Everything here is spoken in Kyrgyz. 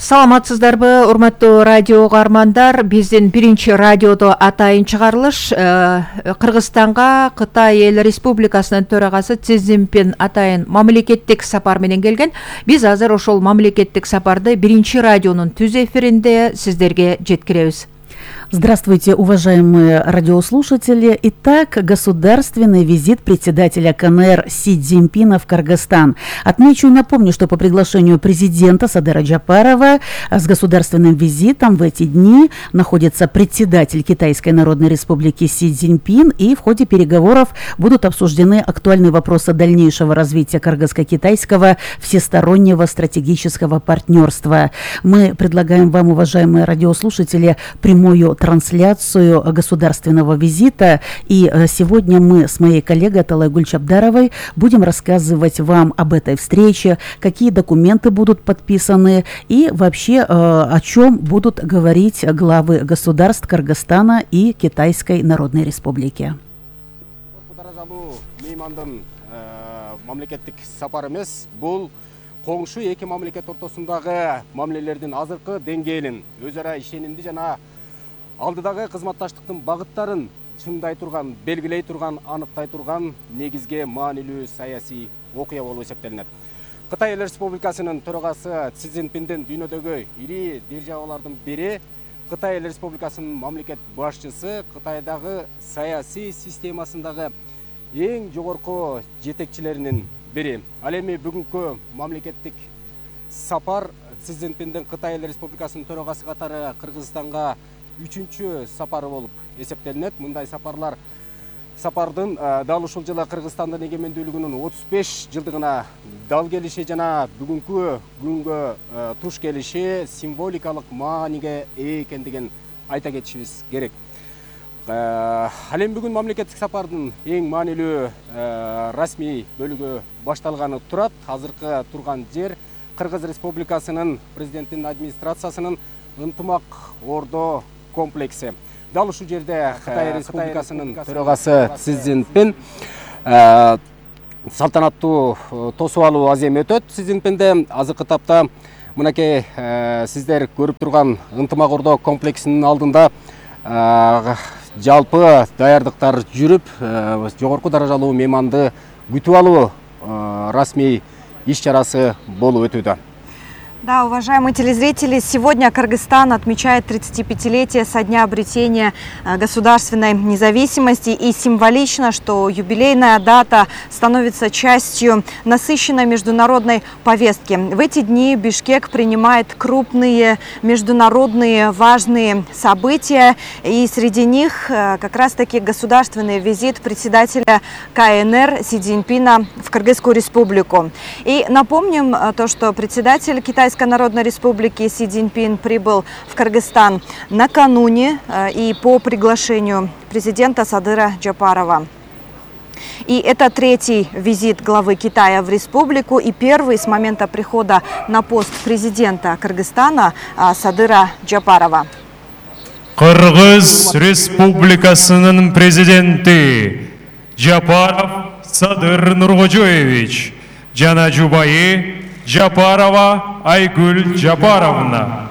Саламатсыздарбы, урматтуу радио угармандар. Биздин биринчи радиодо атайын чыгарылыш Кыргызстанга Кытай Эл Республикасынын төрагасы Си Цзиньпин атайын мамлекеттик сапар менен келген. Биз азыр ошол мамлекеттик сапарды биринчи радионун түз эфиринде сиздерге жеткиребиз. Здравствуйте, уважаемые радиослушатели. Итак, государственный визит председателя КНР Си Цзиньпина в Кыргызстан. Отмечу и напомню, что по приглашению президента Садыра Джапарова с государственным визитом в эти дни находится председатель Китайской Народной Республики Си Цзиньпин, и в ходе переговоров будут обсуждены актуальные вопросы дальнейшего развития кыргызско-китайского всестороннего стратегического партнерства. Мы предлагаем вам, уважаемые радиослушатели, прямую трансляцию государственного визита, и сегодня мы с моей коллегой Аталай Гульчабдаровой будем рассказывать вам об этой встрече, какие документы будут подписаны и вообще о чем будут говорить главы государств Кыргызстана и Китайской Народной Республики. Коңшу эки мамлекет ортосундагы мамилелердин азыркы деңгээлин, өз ара ишенимди жана алдыдагы кызматташтыктын багыттарын чыңдай турган, белгилей турган, аныктай турган негизги маанилүү саясий окуя болуп эсептелинет. Кытай Эл Республикасынын төрагасы Си Цзиньпиндин дүйнөдөгү ири державалардын бири, Кытай Эл Республикасынын мамлекет башчысы, Кытайдагы саясий системасындагы эң жогорку жетекчилеринин бири. Ал эми бүгүнкү мамлекеттик сапар Си Цзиньпиндин Кытай Эл Республикасынын төрагасы катары Кыргызстанга 3-чү сапары болуп эсептелинет. Мындай сапардын дал ушул жылы Кыргызстандын эгемендүүлүгүнүн 35 жылдыгына дал келиши жана бүгүнкү күнгө туш келиши символикалык мааниге ээ экендигин айта кетишибиз керек. Ал эми бүгүн мамлекеттик сапардын эң маанилүү расмий бөлүгү башталганы турат. Азыркы турган жер Кыргыз Республикасынын президенттин администрациясынын ынтымак ордо комплекси. Дал ушул жерде Кытай Республикасынын төрагасы Си Цзиньпин салтанаттуу тосуп алуу азем өтөт. Си Цзиньпинде азыркы тапта мынакей сиздер көрүп турган ынтымак ордо комплексинин алдында жалпы даярдыктар жүрүп, жогорку даражалуу мейманды күтүп алуу расмий иш-чарасы болуп өтүүдө. Да, уважаемые телезрители, сегодня Кыргызстан отмечает 35-летие со дня обретения государственной независимости, и символично, что юбилейная дата становится частью насыщенной международной повестки. В эти дни Бишкек принимает крупные международные важные события, и среди них как раз-таки государственный визит председателя КНР Си Цзиньпина в Кыргызскую республику. И напомним то, что председатель Китайской Народной Республики Си Цзиньпин прибыл в Кыргызстан накануне и по приглашению президента Садыра Джапарова. И это третий визит главы Китая в республику и первый с момента прихода на пост президента Кыргызстана Садыра Джапарова. Кыргыз Республикасынын президенти Джапаров Садыр Нуркожоевич жана жубайы Джапарова Айгүл Джапаровна.